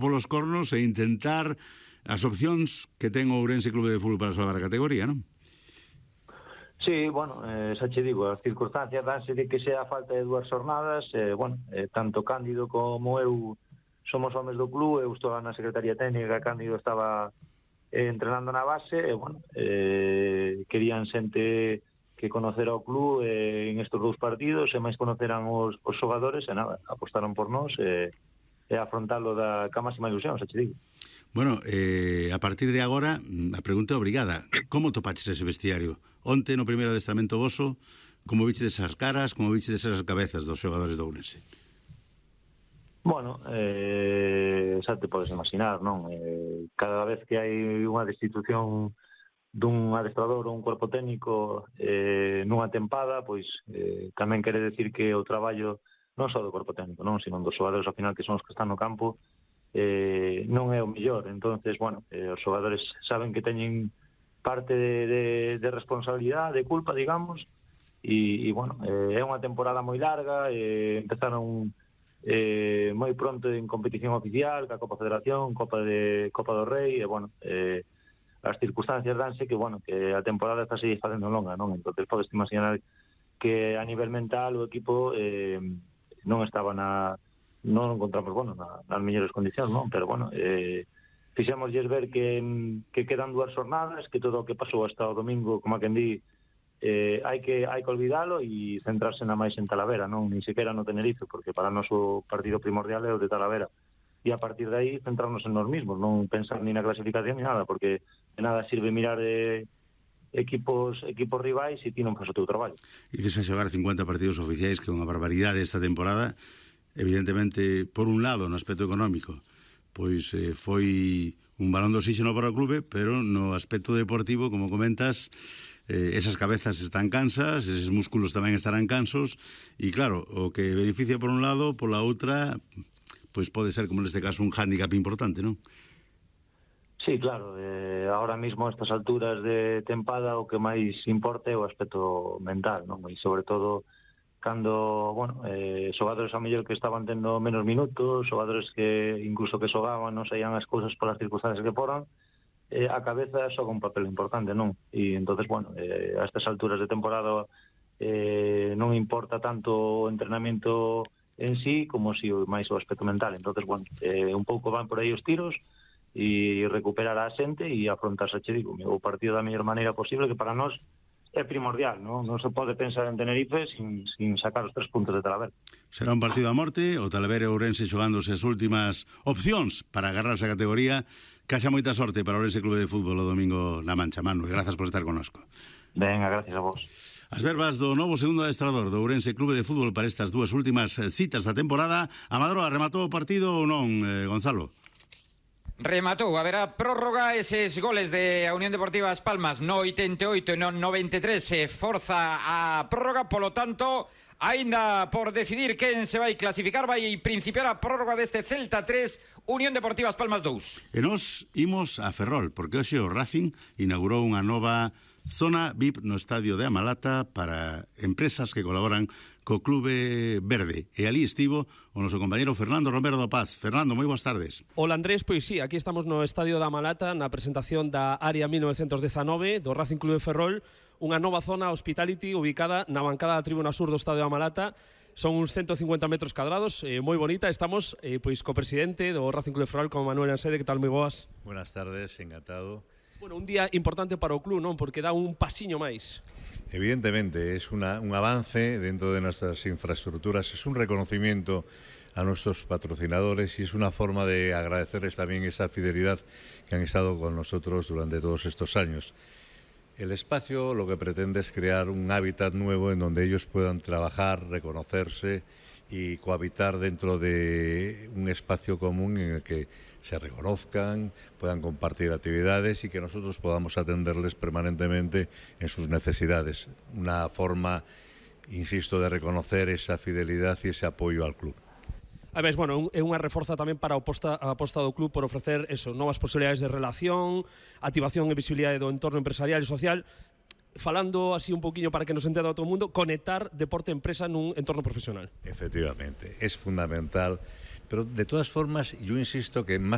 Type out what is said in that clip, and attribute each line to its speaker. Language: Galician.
Speaker 1: polos cornos e intentar as opcións que ten o Ourense Clube de Fútbol para salvar a categoría, non?
Speaker 2: Sí, bueno, xa che digo, as circunstancias danse de que sea a falta de 2 jornadas, tanto Cándido como eu somos homes do club, eu estou na Secretaría Técnica, Cándido estaba entrenando na base, querían xente que conocera o club en estes 2 partidos, e máis conoceran os xogadores, e nada, apostaron por nós e afrontalo ca máxima ilusión, xa che digo.
Speaker 1: Bueno, a partir de agora, a pregunta é obrigada. Como topaches ese vestiario? Onte, no primeiro adestramento voso, como viches esas caras, como viches esas cabezas dos xogadores do Ourense?
Speaker 2: Bueno, xa te podes imaginar, non? Cada vez que hai unha destitución dun adestrador ou un corpo técnico nunha tempada, pois tamén quere decir que o traballo non só do corpo técnico, non, sino dos xogadores ao final que son os que están no campo non é o mellor. Entonces, bueno, os xogadores saben que teñen parte de responsabilidade, de culpa, digamos, e bueno, é unha temporada moi larga, empezaron moi pronto en competición oficial, ca Copa Federación, Copa do Rei, e bueno, as circunstancias danse que, bueno, que a temporada está se facendo longa, non? Entón, podes imaginar que a nivel mental o equipo non estaba non encontramos, bueno, nas mellores condicións, non? Pero, bueno, fixémoslles ver que quedan 2 jornadas, que todo o que pasou hasta o domingo, como a quen di, hai que olvidalo e centrarse na máis en Talavera, non? Ni sequera no Tenerife, porque para nós o partido primordial é o de Talavera. E a partir de aí centrarnos en nós mismos, non pensar ni na clasificación ni nada, porque de nada sirve mirar equipos rivais e ti non faz o teu traballo.
Speaker 1: Dices a xogar 50 partidos oficiais, que é unha barbaridade esta temporada. Evidentemente, por un lado, no aspecto económico, pois foi un balón de oxígeno para o clube, pero no aspecto deportivo, como comentas, esas cabezas están cansas, eses músculos tamén estarán cansos, e claro, o que beneficia por un lado, pola outra, pois pode ser, como neste caso, un hándicap importante, non?
Speaker 2: Sí, claro, ahora mismo a estas alturas de tempada o que máis importa é o aspecto mental, non? E sobre todo cando, bueno, xogadores a mellor que estaban tendo menos minutos, xogadores que incluso que xogaban non saían as cousas polas circunstancias que foran, a cabeza xoga un papel importante, non? E entonces, bueno, a estas alturas de temporada non importa tanto o entrenamento en sí como si máis o aspecto mental. Entonces, bueno, un pouco van por aí os tiros e recuperar a xente e afrontarse, che digo, o partido da mellor maneira posible, que para nós é primordial, non? Non se pode pensar en Tenerife sin sacar os 3 puntos de Talavera.
Speaker 1: Será un partido a morte, o Talavera e o Ourense xogándose as últimas opcións para agarrarse a categoría. Que haxa moita sorte para o Ourense Clube de Fútbol o domingo na Mancha, Manu, e grazas por estar connosco.
Speaker 2: Venga, gracias a vos.
Speaker 1: As verbas do novo segundo adestrador do Ourense Clube de Fútbol para estas 2 últimas citas da temporada. A Madroa rematou o partido ou non, Gonzalo?
Speaker 3: Rematou, haberá prórroga, eses goles de a Unión Deportiva As Palmas no 88 e no 93 se forza a prórroga, polo tanto, aínda por decidir quen se vai clasificar, vai principiar a prórroga deste Celta 3, Unión Deportiva As Palmas 2.
Speaker 1: E nos imos a Ferrol, porque hoxe o Racing inaugurou unha nova zona VIP no estadio de Amalata para empresas que colaboran co Clube Verde. E ali estivo o noso compañero Fernando Romero do Paz. Fernando, moi boas tardes.
Speaker 4: Hola Andrés, pois sí, aquí estamos no estadio de Amalata na presentación da Área 1919 do Racing Clube de Ferrol, unha nova zona hospitality ubicada na bancada da tribuna sur do estadio de Amalata. Son uns 150 metros cadrados, moi bonita. Estamos pois co presidente do Racing Clube de Ferrol, como Manuel Ansede. Que tal, moi boas?
Speaker 5: Buenas tardes, encantado.
Speaker 4: Bueno, un día importante para o club, non? Porque dá un pasiño máis.
Speaker 5: Evidentemente, es un avance dentro de nuestras infraestructuras, es un reconocimiento a nuestros patrocinadores y es una forma de agradecerles también esa fidelidad que han estado con nosotros durante todos estos años. El espacio lo que pretende es crear un hábitat nuevo en donde ellos puedan trabajar, reconocerse y cohabitar dentro de un espacio común en el que se reconozcan, puedan compartir actividades y que nosotros podamos atenderles permanentemente en sus necesidades. Una forma, insisto, de reconocer esa fidelidad y ese apoyo al club.
Speaker 4: A ver, bueno, é unha reforza tamén para a aposta do club por ofrecer eso, novas posibilidades de relación, activación e visibilidade do entorno empresarial e social. Falando así un poquinho para que nos entenda todo o mundo, conectar deporte e empresa nun entorno profesional.
Speaker 5: Efectivamente, es fundamental, pero de todas formas yo insisto que más